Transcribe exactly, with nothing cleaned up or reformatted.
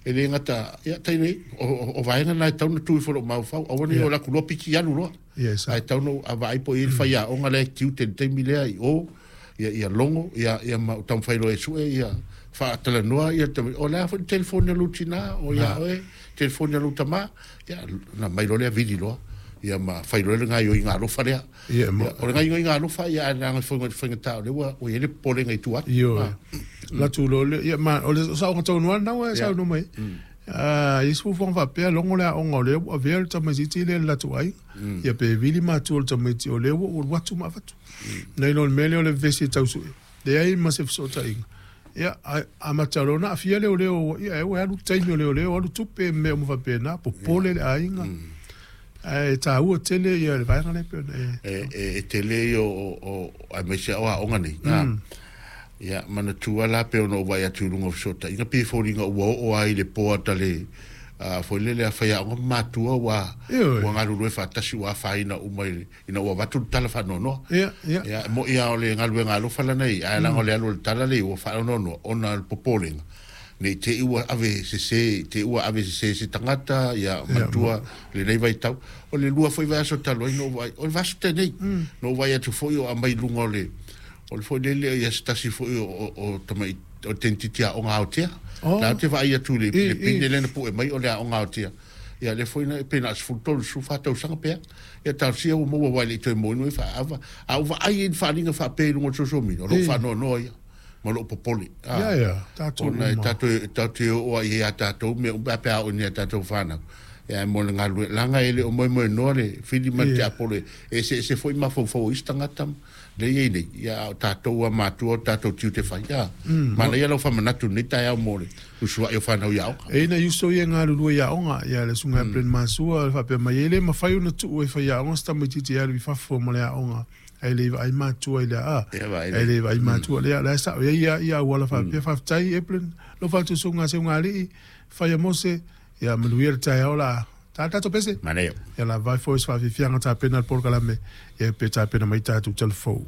E le gata ia tai nei o, o, o vaega na e tau na tu i fo maufau aua ne o la ku piki alu loa. Yes. Ai tau no a vaai po i le faiaoga lea e tiute i le taimi lea i o ia ia logo ia ia ma taumafai loa e sue ia faatalanoa ia tama- o le a foi le telefoni a lou tinā o ia oe telefoni a lou tamā ia na mai loa lea vili loa ia ma fai loa le gaioiga alofa lea. Ia, mo- Ia, o le gaioiga alofa ia ae leaga faiga faigatā o lea ua ua i ai le popolega i tua atu. Ioe. Ah. Latu lo le ia ma o le saoga tonu lava na ua e saunoa mai. Ah, i se fuafuaga faapea logo le aoga o lea ua avea le tamaitiiti lea i le latou aiga. Ia pe vili matua o le tamaiti o lea ua ua alu atu ma avatu. Nai lo le mea lea o le vevesi e tau sue. Leai ma se fesootaiga. Ia a amata loa ona aafia leoleo ia e ua alu le taimi o leoleo alu tupe ma mea uma faapena popole le aiga. Ae taua tele ia le vaega lea pei ona e E e, e tele ia o o aemaise o aoga nei. Ah. Ia manatua la pe ona ou vaai atu i luga o fesootaiga pe foliga ua oo ai le poata le a foi lele a faiaoga ma matua ua Ioe. ua galulue faatasi ua afaina uma i ina ua avatu le tala faanoanoa. Ia ia Ia e mo'i a o le galuega alofa lana i ae laga o le alu o le tala lea ua faanoanoa ona o le popolega nei te i ua ave sesē te ua ave sesē se tagata ia matua lenei vaitau o le lua foi vaiaso talu ai na ou vaai o le vaiaso tenei na ou vaai atu foi o aumai i luga o le o le foi lele ia se tasi foi o o, o tamai o tamaitiiti aoga aotea Oh. la te vaai atu i le I- le pine i. lea na pue mai o le aoga aotea ia le foi na pe na sefulu tolu sefulu fa tausaga pea ia talosia ua maua uae le i toe moinu ai faaava a ua vaai ai i le faaaliga faapea i luga o le social media o loo I. faanoanoa ia ma loo popole. Ia ia tatou Ona e uma. tatou tatou te oo ai ia tatou mea uma pe a oo ni a tatou fanau ia mo le galue laga e le o moemoenoa le fili ma le Ia. tiapolo e eseese foi mafaufau o isi tagata le iai nei ia a o tatou a matua o tatou tiute fai ia manaia lau faamanatu lenei taeao mo le usuai o fanau i aoga. E ina uso ia galulue i aoga ia le susuga ia Plen Masua le faapea mai e le mafai ona tuu e faiaoga se tamaitiiti e alu i fafo ma le aoga ae le vaai matua i le aa Ia vaai ae le vaai matua lea la e sao ai ia ia auala faapea faafetai Evelyn alofa atu susuga Seugalii faia Mose ia manuia le taeao la ta tatou pese Manaia. ia la vai foi se faafiafiaga tapena le polokalame ia pe tapena mai tatou talafou.